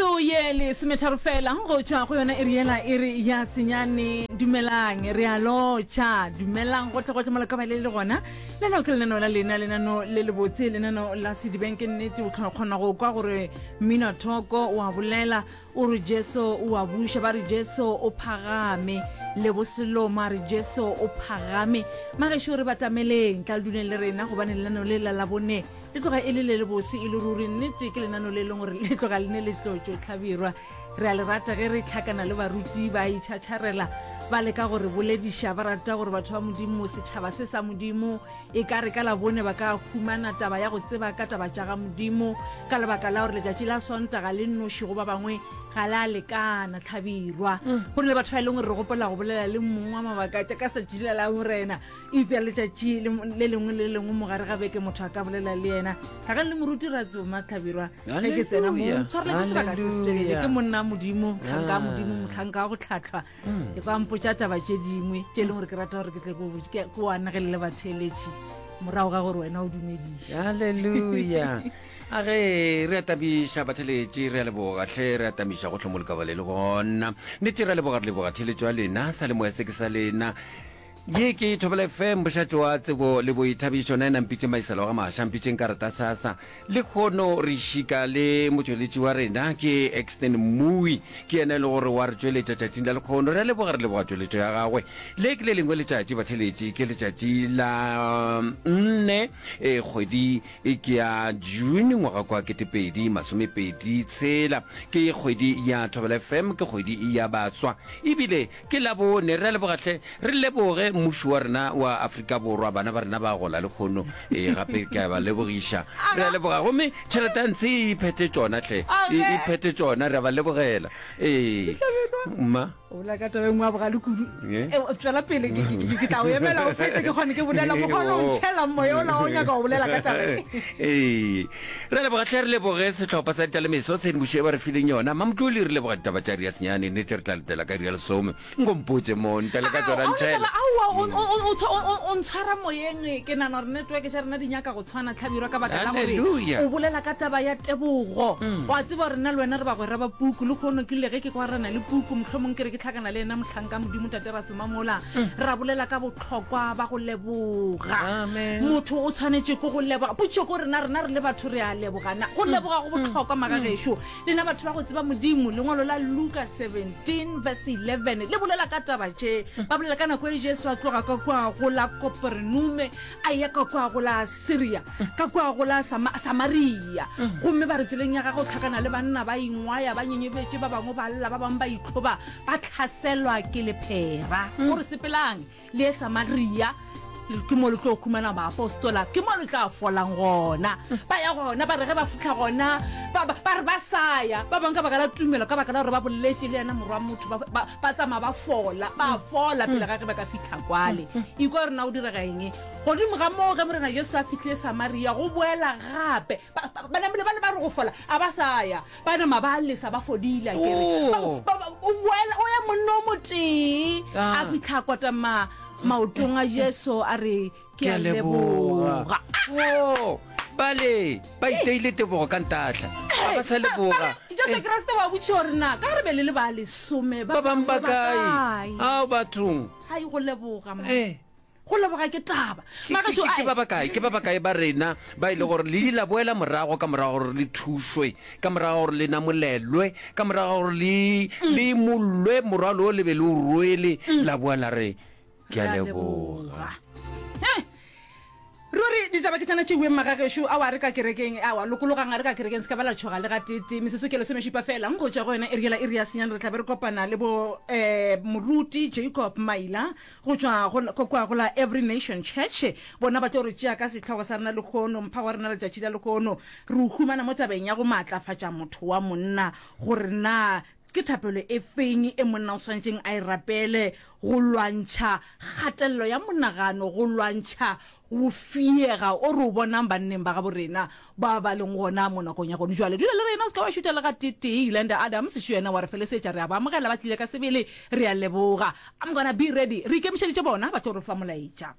Metsotso ye lesometharo fela go tšwa go yona iri yela iri ya senyane. Dumelang, re a lotšha. Dumelang gohle gohle mo le ka ba le le gona. Lenao ke lenaneo la lena, lenaneo le lebotse, lenaneo la sedibeng. Ke nnete o kgona go kwa gore mmino thoko o a bolela, o re Jesu o a buša, ba re Jesu o phagame, le boseloma re Jesu o phagame. Magešo re batameleng, tla le duleng le rena gobane lenaneo le la Labone Le tloga e le le lebose e le ruri. Nnete ke lenano le e leng gore le tloga le ne le tlotšo hlabirwa. Re a le rata ge re hlakana le baruti ba itšhatšharela ba leka go re bolediša, ba rata gore batho ba Modimo, setšhaba se sa Modimo, e ka re ka Labone ba ka humana taba ya go tseba ka taba tša ga Modimo, ka lebaka la gore letšatši la Sontaga le nnoši go ba bangwe ga la lekana. Hlabirwa. Go na le batho ba e leng gore re gopola go bolela le mong wa mabaka tša ka setšatši la Lamorena. Eupša letšatši le lengwe le le lengwe mo gare ga beke motho a ka bolela le yena. Tlhakane le moruti Ratsoma Hlabirwa ge ke tsena mo tshwarela ke sebaka se se telele. Ke monna Modimo, mohlanka wa Modimo, mohlanka wa go tlhatlhwa. Ke kwa mpotša taba tše dingwe tše e leng gore ke rata gore ke tle ke o anegelele batheeletši morago ga gore wena o dumediše. Hallelujah. A ge re a tabiša batheletši, re a leboga hle, re a tamiša gohle mo le ka ba le le gona. Nnete re a leboga, re leboga theeletšo ya lena, sa le moya se ke sa lena. Ye ke Thobela FM, mošate wa tsebo le boithabišo. Nna ena mpitše Maiselo ga Maša, mpitšeng karata sasa. Lekgono re šika le motšweletši wa rena ke Exton Mmui, ke yena e le gore wa re tšweletša tšatšing la lekgono. Re a leboga, re leboga tšweletšo ya gagwe. Le ke le lengwe letšatši batheletši, ke letšatši la nne e kgwedi e ke ya June ngwaga kwa 2026. Ke kgwedi ya Thobela FM, ke kgwedi ya baswa ebile Ke Labone, re a leboga hle. Re leboge mmušo wa rena wa Afrika Borwa, bana ba rena ba gola lekgono. Ee, gape ke a ba lebogiša. Re a leboga. Gomme tšhelete ya ntshe e iphethe tšona hle. E iphethe tšona, re a ba lebogela. Ee. Mma. O bolela ka taba e nngwe ya bogale kudu. Eh? Eh, tswela pele, ke, ke, ke, ke tla o emela o fetše ke kgone ke bolela. Mokgwa o ntšhela moya ola o nyaka go bolela ka taba e. Ee. Re a leboga hle, re leboge sehlopha sa Ditalemeso tshedimošo e ba re fileng yona. Mamtloli re leboga ditaba tša iri ya senyane, nnete re tla letela ka iri ya lesome. Nko mpotše mo, ntale ka tšona ntšhela. Aowa, o ntshwara moyeng, ke nagana gore network tša rena di nyaka go tshwana Hlabirwa ka baka la gore o bolela ka taba ya tebogo. Wa tseba gore nna le wena re bagwera ba puku, lehono ke rile ge ke kwarana le puku, mohlomong ke re ke hlakana le yena mohlanka Modimo Tate Rasoma mola, ra bolela ka bohlokwa ba go leboga. Motho o tshwanetše ke go leboga. Potšišo ke gore na rena re le batho re a leboga na? Go leboga go bohlokwa magagešo. Lena batho ba go tseba Modimo, lengwalo la Luka 17 verse 11 le bolela ka taba tše. Ba bolela ka nako e Jesu a tloga ka kua go la Koperenume a eya ka kua go la Siria, ka kua go la Samaria. Gomme ba re tseleng ya gagwe o hlakana le banna ba ingwaya, ba nyenyebetše, ba bangwe ba lla, ba bangwe ba itlhoba, ba hlaselwa ke lephera. O re, Sepelang le ye Samaria, ke mo le tlo humana baapostola, ke mo le tla folang gona. Ba ya gona, ba re ge ba fihla gona, ba, ba, ba re ba sa ya. Ba bangwe ka baka la tumelo, ka baka la gore ba boletše le yena Morwa motho, ba, ba, ba tsamaya ba fola, ba fola pele ga ge ba ka fihla kwale. Ikwa gore na go direga eng. Godimo ga moo, ge Morena Jesu a fihlile Samaria, go boela gape. Ba, ba, ba namile ba le ba re go fola, a ba sa ya. Ba nama ba lesa ba fodile, a ke re. Ba, ba, ba, o boela, o ya monna o motee, a fihla a kotama maotong a Jesu, a re, Ke a leboga. Oh, bale ba iteile tebogo ka ntahla, ga ba sa leboga. Jesu Kriste wa botšiša gore na ka re be le le ba lesome ba bangwe ba kae? Ao bathong. Hai go leboga man. Eh. Go leboga ke taba. Magašo a. Ke ba bakae, ke ba bakae ba rena ba e le gore le ile la boela morago ka morago gore le thušwe, ka morago gore le namolelwe, ka morago gore le le imollwe morwalo o le be le o rwele, la boa la re, Ke a leboga. Ruri ditaba ke tšana tšeuweng magagešo ao a re ka kerekeng awa lokologang a re ka kerekeng se ka ba la tšhoga le gateetee metsotso ke lesomešupa fela go tšwa go yona iri yela iri ya senyane re tla be re kopana le bo um moruti Jacob Maila go tšwa go kwa go la Every Nation Church bona ba tlo re tšea ka sehlogo sa rena lehono mpha wa rena letšatši la lehono re o humana mo tabeng ya go maatlafatša motho wa monna gore na Ke thapelo e feng e monna o swanetšeng a e rapele go lwantšha kgatelelo ya monagano, go lwantšha go fiega o re o bonang banneng ba gabo rena ba ba leng gona mo nakong ya gone jwale? Dula le rena, o se ke wa šutha le gateetee. Yolanda Adams šo yena wa re felesetša. Re a ba amogela, ba tlile ka sebele. Re a leboga. I'm gonna be ready. Re ikemišeditše bona ba tlo re fa molaetša.